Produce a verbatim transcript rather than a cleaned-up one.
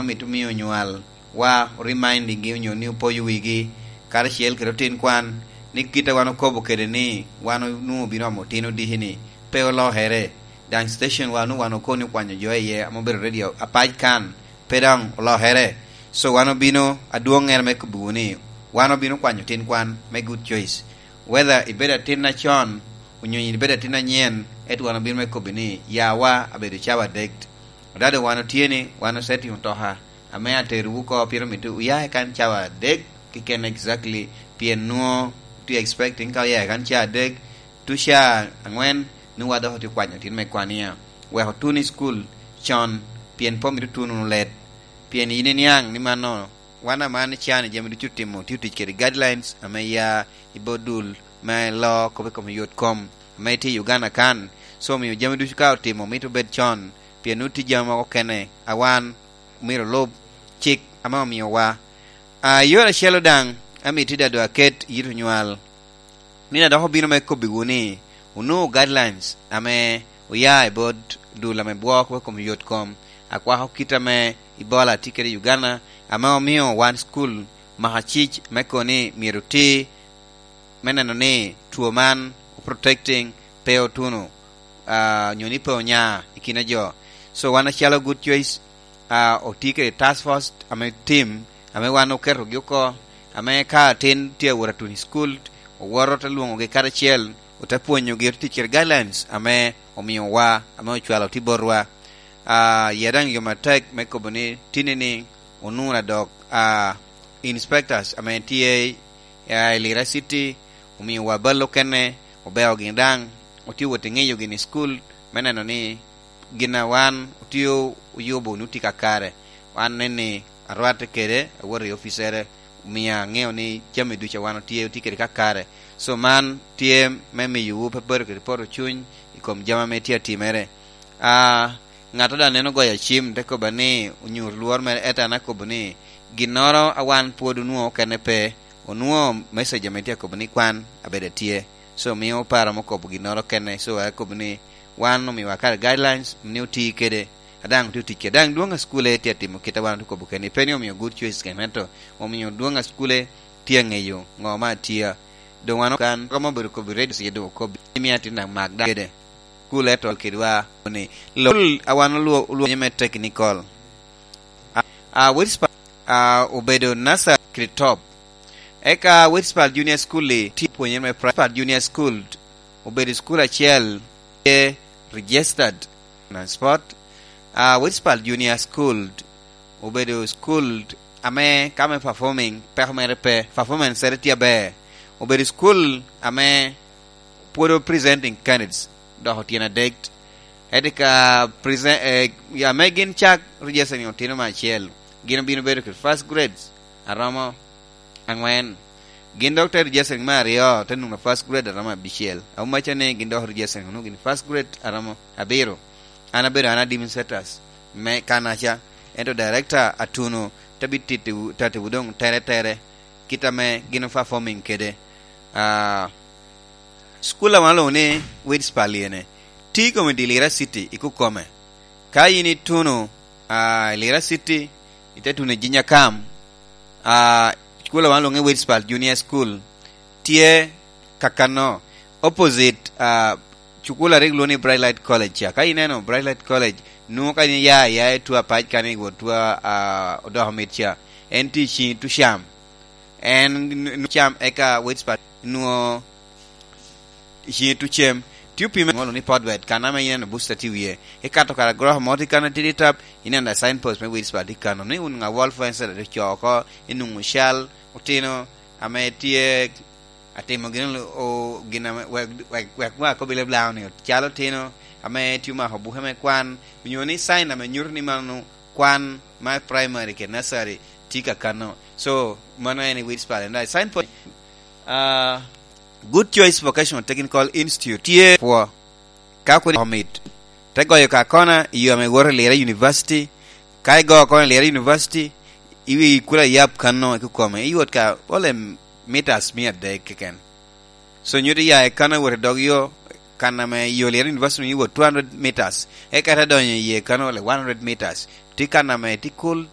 Omito mio onywal wa, oremindigi onyo ni opoyo wigi, karacel kede otin kwan, ni kit a wan okobo kede ni wan onwoŋo obino omo tin odiki-ni, pe olokere. Daŋ station wa onwoŋo wan okobo ni okwanyo jo iye ame obedo ready apac kan, pe daŋ olokere. So wan obino, adwoŋŋere me kobbiwu ni, wan obino kwanyo tin kwan me Good Choice. Whether ibedo atin acon, onyo yin ibedo atin anyen, ento wan obino me kobbi ni, yawa abedo cawa adek. Odado wan otye ni, wan osetimo toka, ame aterowu oko, pien omito wuya i kan cawa adek keken exactly, pien nwoŋo tye expecting ka oya i kan cawa adek, tuca aŋwen, nwoŋo wa dok otye kwanyo tin me kwania. Wek otun i school con, pien pe omito tun wunu let. Pien yin iniaŋ ni mano, wan aman ican i jami ducu otimo, tye otic kede guidelines ame ya i bot dul me lo kop i kom yot kom ame tye i Uganda kan. So, omio jami ducu ka otimo, mito bed con, pien nwoŋo tye jami mogo kene a wan myero olub cik ame omiowa. A, yore acel daŋ, amito dado aket yit onywal. Nino a dok obino me kobbiwu ni, onwoŋo guidelines ame oya i bot dul ame bwok i kom yot kom, akwako kit ame Ebola tye kede i Uganda, ame omio wan school maka cic me kono ni myero oti me neno ni two man protecting pe otuno, ah, onyo ni pe onya i kine jo. So wan acalo Good Choice, ah, otye kede task force ame team ame wan oketogi oko, ame ka atin tye awot atuno i school, owoto te lwoŋogi karacel, ote pwonyogi, ote tic kede guidelines ame omiowa, ame ocwalo tye botwa. Ah, ya daŋ yo matek me kobo ni tini ni onwoŋo adok, ah, inspectors ame tye, ah, i Lira City, omiowa bal okene, obeo gin daŋ, otye wot i ŋeyo gin i school, me neno ni gin a wan otye oyubo ni otye kakare. Wan nen ni arwatte kede, awoto i officere, omio aŋeo ni jami ducu a wan otye, otye kede kakare. So man tye me miyowu pe bedo kede poto cuny i kom jami ame tye atimere. Ah, ŋat a daŋ neno goyo acim, te kobba ni, onyut lworo mere, ento an akobo ni, ginnoro a wan pwod onwoŋo okene pe, onwoŋo message ame tye akobo ni kwan abedo atye. So, mio oparo ame okobo ginnoro kene. So, akobo ni, wan omiowa kare guidelines, ni oti kede, a daŋ otye otic kede. Daŋ dwoŋ a cukule tye atimo kit a wan otye okobo kene. Pe ni omio Good Choice kene, ento omio dwoŋ a cukule tye aŋeyo ŋo ma atye. Doŋ wan kan, ka ma obedo kobo i radio station, doŋ okobo. Imio atin daŋ mak daŋ kede. Cukule to kedwa ni, lo, a wan olwo-, olwonyo me technical. A, a, West Pa-, a, obedo nursery kede top. Eka West Pearl Junior School-li tye pwonyere me pri-, Pearl Junior School obedo school acel tye registered na sport. A, West Pearl Junior School obedo school ame ka me performing, peko mere pe, performance-ere tye aber. Obedo school ame pwod o presenting candidates, dok otyen adek. Ento ka present, eh, ame gin cak registering otino me acel, gin obino bedo kede first grades aromo aŋwen. Gin dok te registering me aryo, te nwoŋo first grade aromo abicel. Awumacca ni gin dok registering onwoŋo gin first grade aromo abiro. An abedo an administrators me kanaca, ento director atuno te bi tittiwu, tattiwu doŋ tere tere, kit ame gin o performing kede. Ah, school a wan olwoŋo ni Wades Paliene, tye i kom i dye Lira City i Kukome. Ka yin ituno, ah, i Lira City, ite tuno i Jinyakam, ah, school a wan olwoŋo ni Wades Pal Junior School, tye kakano, opposite, ah, cukul a rik lwongo ni Bright Light College ca. Ka ineno Bright Light College, nwoŋo ka in iya, iya i two apac kan i wot two, ah, odoko mit ca, en tye i ciŋ Tucam. En n-, n-, cam eka Wades Pal nwoŋo i ciŋ Tucem. Tye opime ŋolo ni Podwet, kan ame ineno booster tye i wie. Ikato kara gorofa mo tye kan atidi tap, ineno a signpost me Wades Pal tye kano. Ni wun ŋa World Food Center tye co oko, inwoŋo cal otino ame tye atimo gin o-, gin ame wek, wek, wek wa akobi leb Lango ni, calo otino ame tye omako buke me kwan, onyo ni sign ame nyuto ni mano kwan ma primary kede nursery tye kakano. So, mano en i Wades Pal. And I sign for, uh, Good Choice Vocational Technical Institute. Tye pwo. Ka kodi omit, te goyo ka kona i yo ame woto i Lira University. Ka igo kona i Lira University, iwi kula yap kanno i Kukome, iwot ka ole meters mia adek keken. So nyuto iya i kanno iwot i dog yo, kan ame i yo Lira University iwot two hundred meters, eka te donyo iye kanno ole one hundred meters. Tye kan ame tye cool,